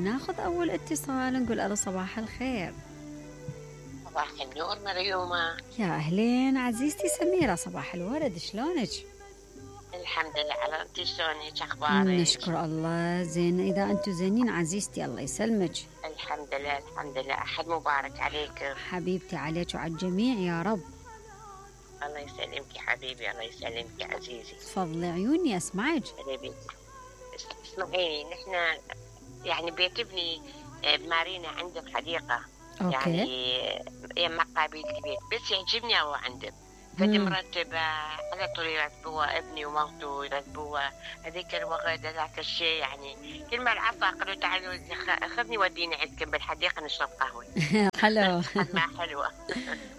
ناخذ أول اتصال نقول ألو صباح الخير. صباح النور مريومة. يا أهلين عزيزتي سميرة، صباح الورد، شلونك؟ الحمد لله. على انت شلونك اخبارك؟ نشكر الله زين. إذا أنتم زينين عزيزتي الله يسلمك. الحمد لله الحمد لله. أحد مبارك عليك حبيبتي، عليك وعلى الجميع يا رب. الله يسلمك حبيبي، الله يسلمك يا عزيزي. تفضلي عيوني أسمعك. حبيبي اسمعيني، نحن يعني بيت ابني بمارينا عنده حديقة. أوكي. يعني يما قابيل البيت، بس يعجبني الله عنده، فدي مرتبة على طول يرتبوها، ابني ومرته يرتبوها. هذيك الوقت ذاك الشيء يعني كل ما العصا قالوا تعالوا خذني وديني عندكم بالحديقة نشرب قهوة. حلو. ما حلوة.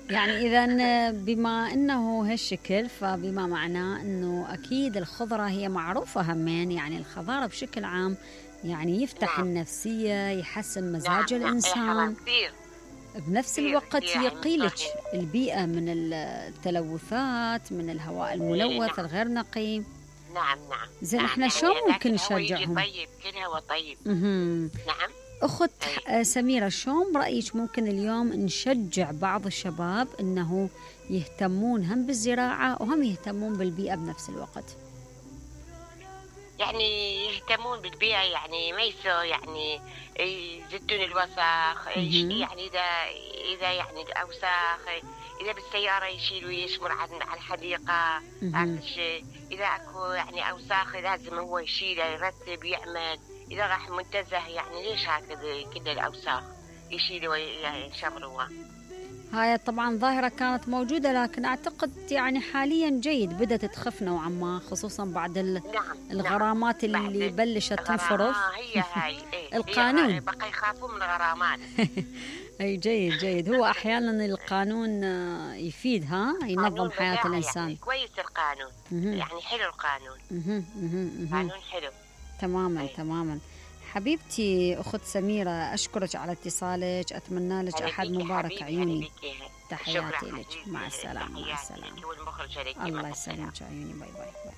يعني إذا بما أنه هالشكل، فبما معناه أنه أكيد الخضرة هي معروفة همين، يعني الخضار بشكل عام يعني يفتح النفسية، يحسن مزاج الإنسان، بنفس الوقت يقيلك البيئة من التلوثات، من الهواء الملوث الغير نقي. نعم. زين احنا شلون ممكن نشجعهم؟ طيب كل هو طيب. نعم. أخت سميرة، شلون برأيك ممكن اليوم نشجع بعض الشباب أنه يهتمون هم بالزراعة وهم يهتمون بالبيئة بنفس الوقت؟ يعني يهتمون بالبيئة، يعني ما يسوي يعني يزدون الوسخ، يعني إذا يعني الأوساخ إذا بالسيارة يشيلوا يشمر على الحديقة. هذا الشيء إذا أكو يعني أوساخ لازم هو يشيله، يرتب يعمل. إذا راح منتزه يعني ليش هكذا كل الأوساخ يشيلوا ويشمروها. هاي طبعا ظاهرة كانت موجودة، لكن أعتقد يعني حاليا جيد، بدأت تخف نوعا ما، خصوصا بعد الغرامات اللي بلشت تنفرض. هي هاي القانون بقى يخافوا من الغرامات. أي جيد. هو أحيانا القانون يفيد، ينظم حياة الإنسان. يعني كويس القانون. يعني حلو القانون. قانون حلو. تماما. حبيبتي أخت سميرة، أشكرك على اتصالك، أتمنى لك أحد مبارك عيوني. تحياتي لك. مع السلامة. الله يسلمك عيوني. باي باي.